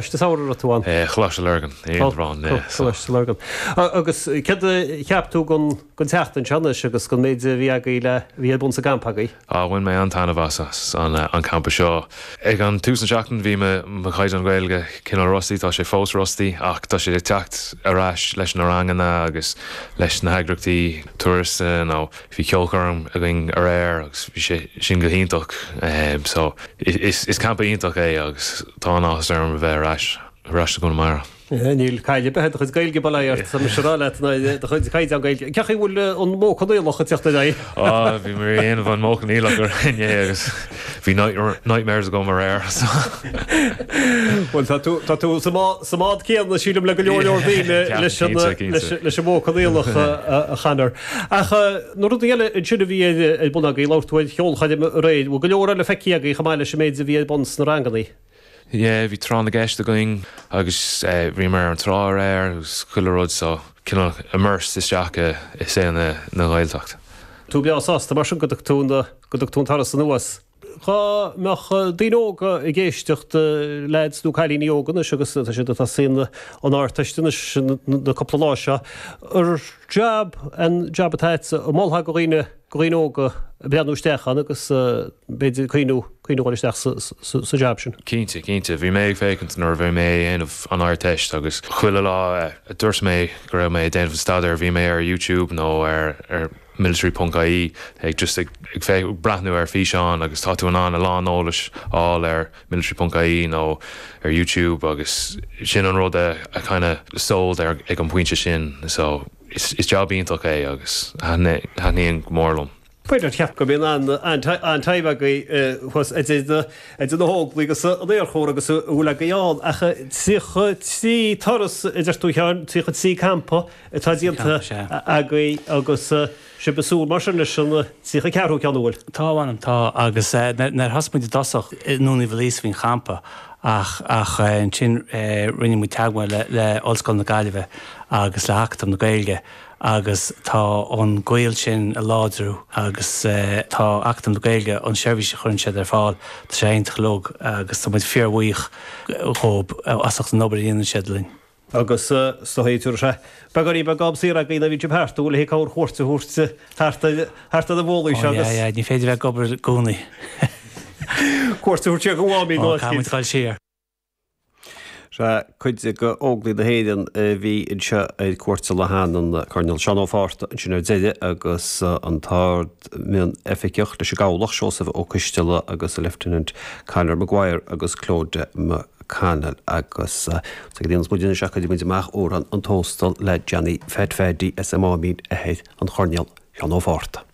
Samhraidh a raibh tú ann? Choláiste Lurgan, in Indreabhán, yeah. Coláiste Lurgan. Agus céard a cheap tú den tseachtain seo anois agus den méid a bhí agaibh le, a bhí ar bun sa gcampa agaibh? Á, bhain mé an-taitneamh as an campa seo. Ag an tús na seachtain bhí mo chaighdeán Gaeilge cineál rusty, tá sé fós rusty ach tá sé ag teacht ar ais leis na ranganna agus leis na heagraíochtaí turas nó Bhí ceolchoirm againn aréir agus bhí sé sin go hiontach. So is campa iontach é agus tá an-áthas orm a bheith ar ais, ar ais i gConamara. Níl caill ar bith ar do chuid Gaeilge, bail ó Dhia ort, tá mise ag rá leat, ná do chuid caighdeán Gaeilge. Cén chaoi a bhfuil an modh coinníollach ag teacht ar aghaidh? Á, bhí mé ag déanamh an modh coinníollach inné agus bhí nightmares agam aréir. So. Bhuel, tá tú, tá tú sa mbád céanna, sílim, le go leor leor daoine leis an, leis an modh coinníollach a Chonor. Ach na rudaí eile ansin a bhí ar bun agaibh, labhair tú ar cheolchoirm aréir, bhfuil go leor eile feicthe agaibh chomh maith leis an méid a bhí ar bun sna rangannaí? Yeah, bhí tráth na gceist againn agus bhíomar ar an trá aréir agus chuile rud so cineál immersed isteach i saol na Gaeltacht. Tú breá sásta mar sin go dtug tú go dtug tú an turas anuas? Dhá mbeadh daoine óga ag éisteacht, leaids nó cailíní óga anois agus tá siad ag tosaí an Ardteist anois na cúpla lá seo, ar jab an jab atá agatsa, an molfá go dhaoine, go dhaoine óga breathnú isteach ann agus b'fhéidir cuimhniú, cuimhniú dhul isteach sa jab sin? Cinnte, cinnte. Bhí mé ag féachaint nuair a bhí mé ag déanamh an Ardteist agus chuile lá a dúirt mé go raibh mé ag déanamh an staidéir bhí mé ar YouTube nó ar, ar military ponc ie ag just ag breathnú ar físeáin agus tá tú in ann a lán eolais a fháil ar military ponc ie nó ar YouTube agus sin an rud a kind of sold ar ag an bpointe sin so is jab iontach é agus thaitníonn go mór liom. B'fhéidir cheap go mbíonn an-time agaibh thuas idir na hÓglaigh agus an Aerchór agus a bhfuil agaibh ann ach 33 turas a deir tú a Sheáin, 33 campa atá déanta agaibh agus sibh ag súil mar sin leis an 34ú ceann an bhfuil? Tá, a mh'anam, tá agus nuair a thosaigh muid i dtosach i nDún Uí Mhill a bhí an champa ach ach ansin rinne muid teagmháil le le Ollscoil na Gaillimhe agus le hAcadamh na Gaeilge agus tá an gaol sin ag láidriú agus tá Acadamh na Gaeilge, an seirbhís a chuireann siad ar fáil, tá sé iontach uilig agus tá muid fíorbhuíoch dhóib as ucht an obair a dhéanann siad linn. Agus is dóigh tabharfaidh sé beagáinín beag am saor agaibh nuair a bhíonn sibh thart, an bhfuil le corrchuairt a thabhairt thart ar thart ar na bólaí seo agus. Ó yeah yeah, ní féidir bheith ag obair i gcónaí. Cuairt a thabhairt siar go Mháimín nó Ó, caithfidh muid dul siar. Sea, cuid de Óglaigh na hÉireann a bhí anseo ar cuairt sa Lochán, an Coirnéal Seán Ó Fátharta ansin ar deireadh agus an tArd-Mhionoifigeach leis an gCabhlach, Seosamh Ó Coisteala agus an Lieutenant Conor Maguire agus Clodagh McConnell agus sa go dtéanns muid anois ach cuirfidh muid amach amhrán an Tóstail le Johnny Phat Phaddy as an Máimín, athair an Choirnéil Seán Ó Fátharta.